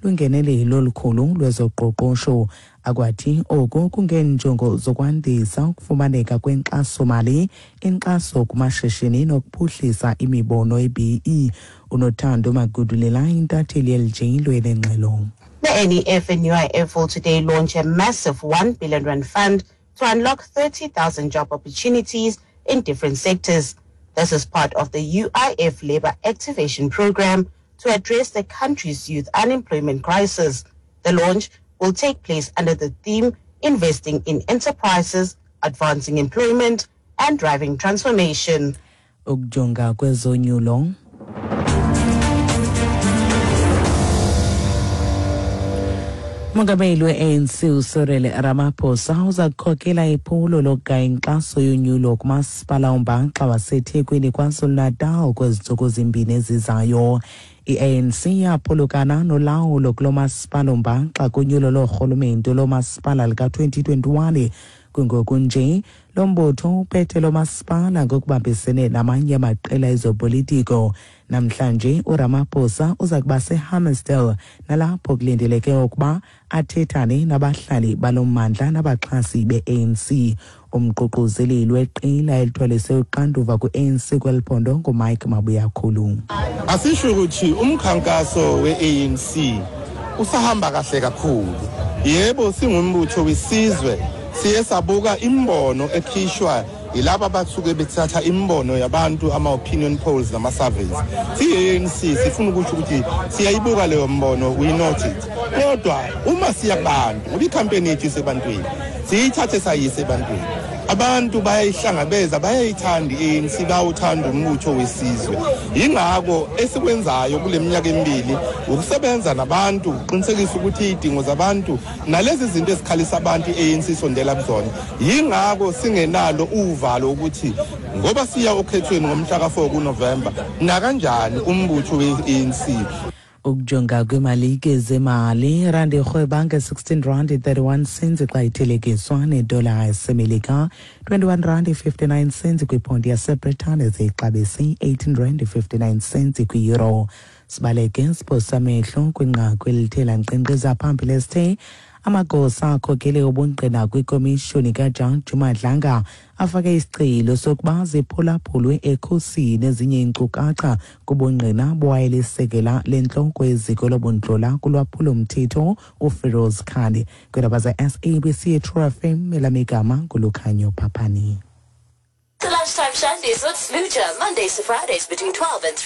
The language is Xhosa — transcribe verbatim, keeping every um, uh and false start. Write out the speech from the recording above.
lungenelelo olukhulu lwezoqoqosho. Akwathi oku kungenjongo zokwandisa ukufumaneka kwenkxasomali, inkxaso kumashishini nokuphuhlisa imibono e-B E. Unothando Magudulela, intatheli ye-L J lwenengxelo. The N E F and U I F will today launch a massive one billion rand fund to unlock thirty thousand job opportunities in different sectors. This is part of the U I F Labor Activation Program to address the country's youth unemployment crisis. The launch will take place under the theme Investing in Enterprises, Advancing Employment and Driving Transformation. Ukujonga kwezonyulo. Umongameli we-A N C uCyril Ramaphosa uza kukhokela iphulo lokugaya inkxaso yonyulo kumasipala ombaxa waseThekwini KwaZulu-Natal kwezi ntsuku zimbini ezizayo. I-A N C yaphulukana nolawulo kulo masipala ombaxa kunyulo loorhulumente lomasipala lika-twenty twenty-one. Kungoku nje lo mbutho uphethe lo masipala ngokubambisene namanye amaqela ezopolitiko. Namhlanje uRamaphosa uza kuba seHammarsdale, nalapho kulindeleke ukuba athethane nabahlali balo mmandla nabaxhasi be-A N C. Umququzeleli weqela elithwalise uxanduva kwi-A N C kweli phondo nguMike Mabuyakhulu. Asisho ukuthi umkhankaso we-A N C usahamba kahle kakhulu. Yebo, singumbutho wesizwe, siye sabuka imbono ekhishwa yilaba abasuke bethatha imbono yabantu, ama-opinion polls nama-surveys. Siyi-A N C sifuna ukuthi ukuthi siyayibuka leyo mbono, we note it, kodwa uma siya kubantu, ngoba ikhampeni yethu isebantwini, siyithathe sayise ebantwini, abantu bayayihlangabeza, bayayithanda i-A N C, bayawuthanda umbutho wesizwe. Yingakho esikwenzayo kule minyaka emibili ukusebenza nabantu, ukuqinisekisa ukuthi izidingo zabantu nalezi zinto ezikhalisa abantu i-A N C isondela kuzona. Yingakho singenalo uvalo ukuthi ngoba siya okhethweni ngomhla ka-four kuNovemba, nakanjani umbutho we-A N C. Ukujonga kwimalike zemali, irandi irhweba nge-sixteen rand thirty-one cents xa ithelekiswa nedola yaseMelika, twenty-one rand fifty-nine cents kwiponti yaseBritane, ziyixabise eighteen rand fifty-nine cents kwi-euro. Sibaleke siphosa amehlo kwinqaku elithe lankqenkqeza phambili esithe amagosa akhokele ubungqina kwikomishoni kaJaji Madlanga afake isicelo sokuba ziphulaphulwe ekhusini ezinye iinkcukacha kubungqina bowayelisekela lentloko yeziko lobuntlola kulwaphulomthetho uFeroz Khan. Kwiindaba ze-S A B C True F M, elamigama nguLukhanyo Phaphani. The Lunchtime Shandies with Smoocher, Mondays to Fridays between twelve and three.